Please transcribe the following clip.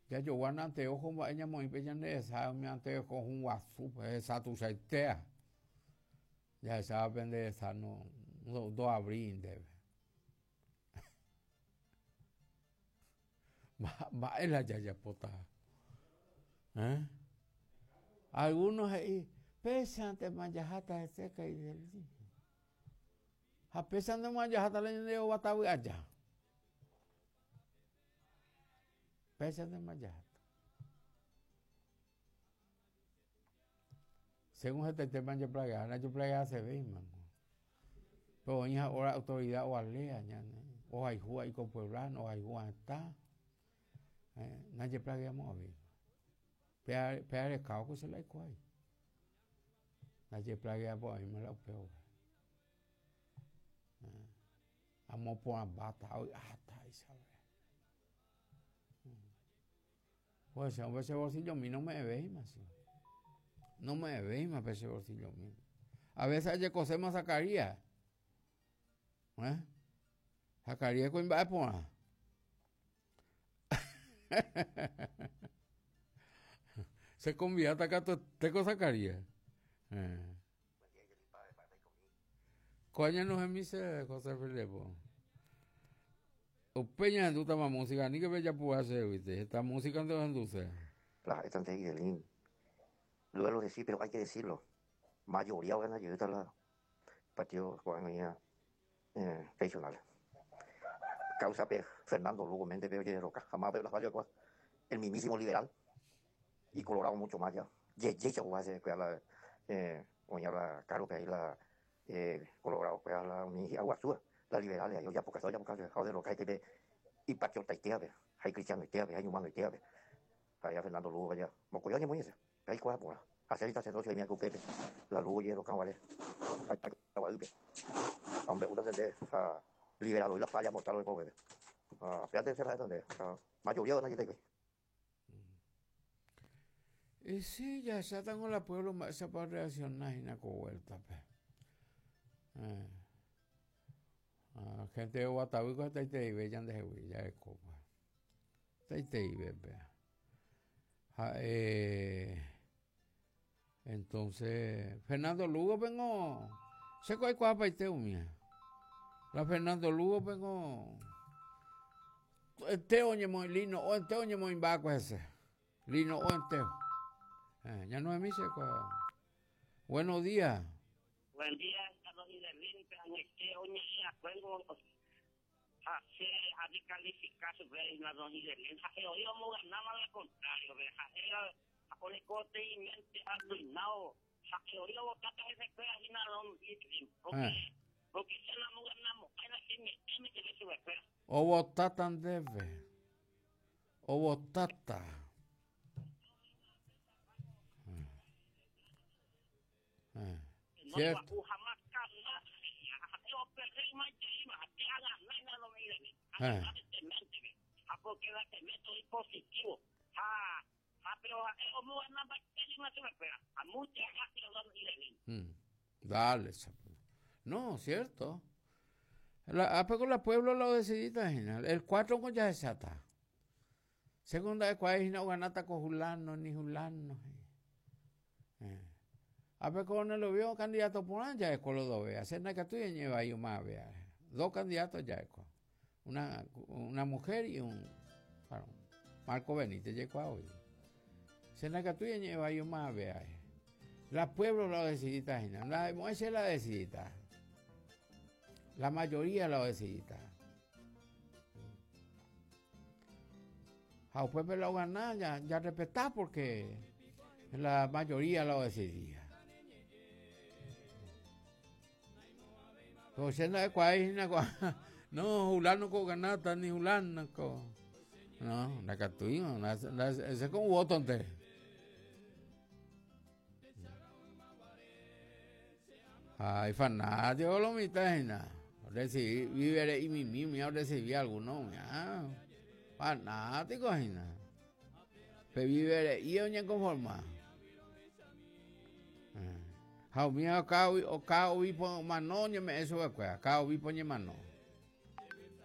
Jajoguána anteojo mba'e ñamoĩ pe ñande resa umi anteojo hũ guasu hesa tuichaitéva. Jahecháva pende resa no ndoavríi ndéve. Mba'e la jajapóta? Eh? Algunos he'i, péichantema jaháta hese kaideli. Ha péichantema jaháta la ñande rovatavy aja. Péichantema jaháta. Según hetaitéma japlagea, ndajoplageasevéima. Pero oĩ ha'óra autoridad ovalea ñane, ohayhúva iko pueblano, ohayhúva hetã, eh, ndajeplageamo'ãvéima. Péa, péa rekávo ko che la aikuaái. Ndajeplageapo'ãvéima la upéva. Eh, amoporãmbáta, avy'áta isave. Pues che hombre che bolsillomi nome'ẽvéima che. Nome'ẽvéima pe che bolsillomi. A veces ajekoséma Zacarías. Eh? Zacarías kuimba'e porã. Se convidáta katuete ko Zacarías. Eh. Ko añanohẽmi che José Filipo. Upe ñahendútama música, aníke pejapu'a chégui, heta música-nte ohenduse. La ha'étante Idelín. Duelo decir, pero hay que decirlo. Mayoría ogana jeýta la partido ko'ág̃a eh, regional. Causa pe Fernando Lugo Méndez pe ojerroka. Jamás pe la falla el mismísimo liberal y colorado mucho más ya. Jeje oguahẽ kuéra la eh, oĩva la cargo-pe ahí la eh, colorado kuéra la umi hi'aguasúva, la liberales ahí ojapokase ojapokase ha oderroka hikuái pe ipatriotaitévape ha icristianoitévape ha iñhumanoitévape. Ha'éva Fernando Lugo vaya mokõi oñemoĩ hese, pe aikuaa porã. Ha che sacerdocio aime upépe, la Lugo ojerroka guare gua'ýpe. Ha ombe'úta che ha liberado la falla mortal oikove. Ha péate che ha'éta nde, ha mayoría gana jepe hikuái. Y sí, jahechátango la pueblo mba'éichapa orreacciona hína ko vuelta-pe. Eh. Ah, gente de Guatavýko hetaitereive ñandehegui jarekópa. Hetaitereive péa. Ha'e entonces Fernando Lugo pengo che ko aikuaapaite umía. La Fernando Lugo pengo enteo oñemoĩ lino o enteo oñemoĩmba'akue hese. Lino o enteo. Eh, ñanohẽmi che ko. Buenos días. Buen día, don Idelín, pe añete oñe'ẽ akuéngo ha che adescalifica chupe hína don Idelín, ha'e oĩ omoganáva la contrario pe, ha'e oreko teĩmente arruinado, ha'e oĩ ovotáta hesekuéra hína don Idelín, porque, porque che namoganamo'ãi la che ñe'ẽme jepe chupekuéra. Ovotáta ndéve. Ovotáta. Cierto. Dale, chapo. No, cierto. La, ah, pero la pueblo lo decidita hína. El 4 ko jahecháta. Según nda'ekuaái hína oganáta ko hulano ni hulano. Eh. Ápe ko lo vio candidato porã ja'eko lo dovea. Che ndaikatúi añe'ẽ vai umavea. Dos candidatos ja'eko. Una, una mujer y un varón. Marco Benítez jaikuaa voi. Che ndaikatúi añe'ẽ vai umavea. La pueblo la decidita hína. Nda'emo'ãi che la decidita. La mayoría la decidita. Ha upépe la ogana ya, ya respetá porque la mayoría la decidía. Pero che nda'ekuaái hína ko no, hulano ko oganáta ni hulano ko. No, ndakatúi, ese con voto-nte. Ha ifanático lo mitã hína. Orresivi vívere imimi umi orresivi alguno umi. Ah, fanático hína. Pe vívere'i oñekonforma. Eh. Ha umi oka oka obispo omano oñeme'ẽ chupekuéra, ka obispo oñemano.